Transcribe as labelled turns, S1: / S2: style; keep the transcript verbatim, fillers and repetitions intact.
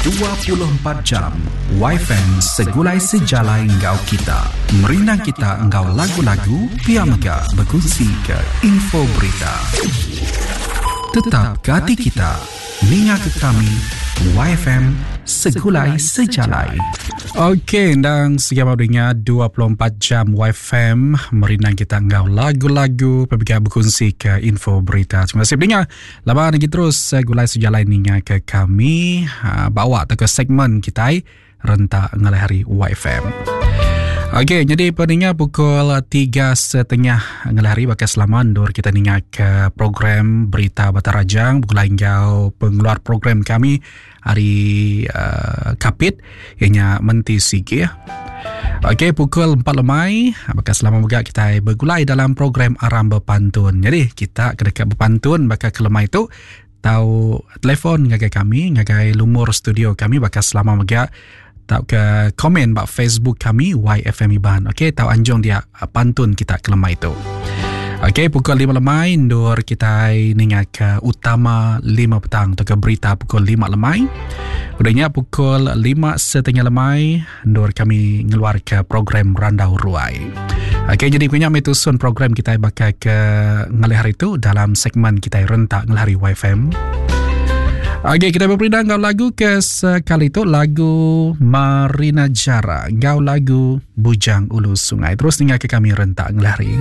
S1: Dua puluh empat jam Y F M segulai sejalai enggau kita. Merindang kita enggau lagu-lagu, pia mega bekunsi ke info berita. Tetap ke ati kita. Ninga ke kami Y F M segulai sejalai. Okey, endang siap dengar dua puluh empat jam Y F M merindang kita enggau lagu-lagu, pia bekunsi ke info berita. Terima kasih pendengar. Lama lagi terus gulai sejalai ninga ke kami ha, bawa ke segmen kita rentak ngalih hari Y F M. Okey, jadi pendengar, pukul tiga setengah ngalih hari bakal selama endur kita ninga ke program Berita Batarajang begulai enggau pengeluar program kami hari uh, Kapit ianya Menti Sigi. Okey, pukul empat lemai, bakal selama juga kita bergulai dalam program Aram Berpantun. Jadi, kita kedekat berpantun bakal ke lemai itu tau telefon ngagai kami, ngagai lumur studio kami bakal selama juga tau ke komen bak Facebook kami Y F M Iban. Okey, tau anjung dia pantun kita ke lemai itu. Okey, pukul lima lemai endur kita ninga ke utama lima petang atau ke berita pukul lima lemai. Udahnya pukul lima setengah lemai endur kami ngeluar ke program Randau Ruai. Okey, jadi punya metusun program kita bakal ke ngalih hari itu dalam segmen kita rentak ngalih hari Y F M. Okey, kita berperindang ngau lagu ke sekali itu, lagu Marina Jara, ngau lagu Bujang Ulu Sungai. Terus tinggal ke kami rentak ngalih hari.